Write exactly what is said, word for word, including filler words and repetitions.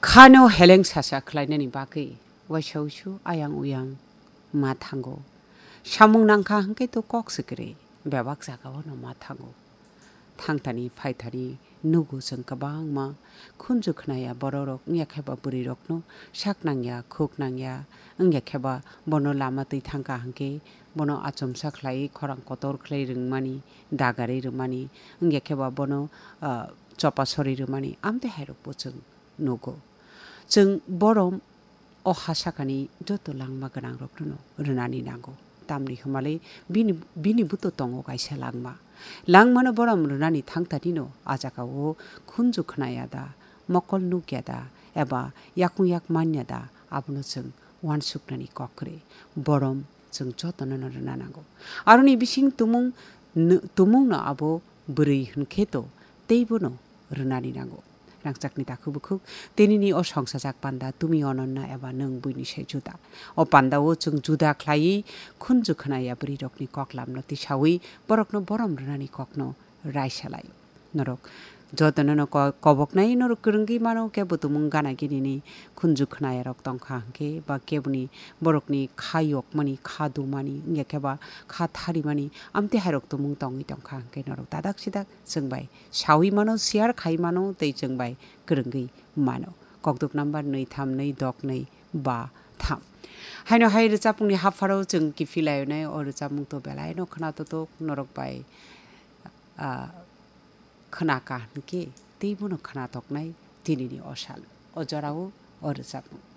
Khano heleng sasa khlainani bagwi waisa uisu ayang uyang ma thango. Samung nangkha hwnkhe to kok se kwrwi, bebak jagao no ma thango. Thangthani phaithani nugo chwng kwbangma khunju khnaya bororok, wngya khe ba bwrwirokno sak nangya, khuk nangya, wngya khe ba bono lama twi thangkha hwnkhe bono achomsa khlai, khorang kotor khlai rwngmani, dagarwi rwmani, wngya khe ba bono, ah, chopa sori rwmani, amtwi hairokbo chwng nugo. Chwng borom o ha sakani joto langma gwnangrokno rwnani nango. Tamni hwnmale bini, bini buto tongo kaisa langma. Langmano borom rwnani thangtanino a jagao khunju khnaya da, mokol nukya da, eba yakung yak manya da, abono chwng uansuknani kok kwrwi. Borom chwng jotono no rwna nango. Aroni bising tumung, n-, tumungno abo bwrwi hwnkhe to teibono rwnani nango. Rangchakni takhuk bukhuk, tinini o songsajak panda tumi ononna eba nwng buini se juda. O pandao chwng juda khlaiwi khunju khnaya bwrwirokni koklamno tisawi borokno borom rwnani kokno raisa lai. Norok jotono no ko-, koboknai norok kwrwngwi mano, kebo tumung gana ginini khunju khnayarok tongkha hwnkhe ba keboni borokni kha yokmani, kha dumani, wngya khe ba kha tharimani, amtwi hairok tumung tongwi tongkha hwnkhe norok dadak sidak chwng bai sawi mano, share khai mano tei chwng bai kwrwngwi mano. Kokduk number nwi tham nwi dok nwi ba tham. Haino hai rwchapmungni hapharo chwng kiphilai nai, o rwchapmung to belai no khna totok norok bai, ah, khna ka hwnkhe teibono khna toknai tinini o sal, o jorao o rwchapmung.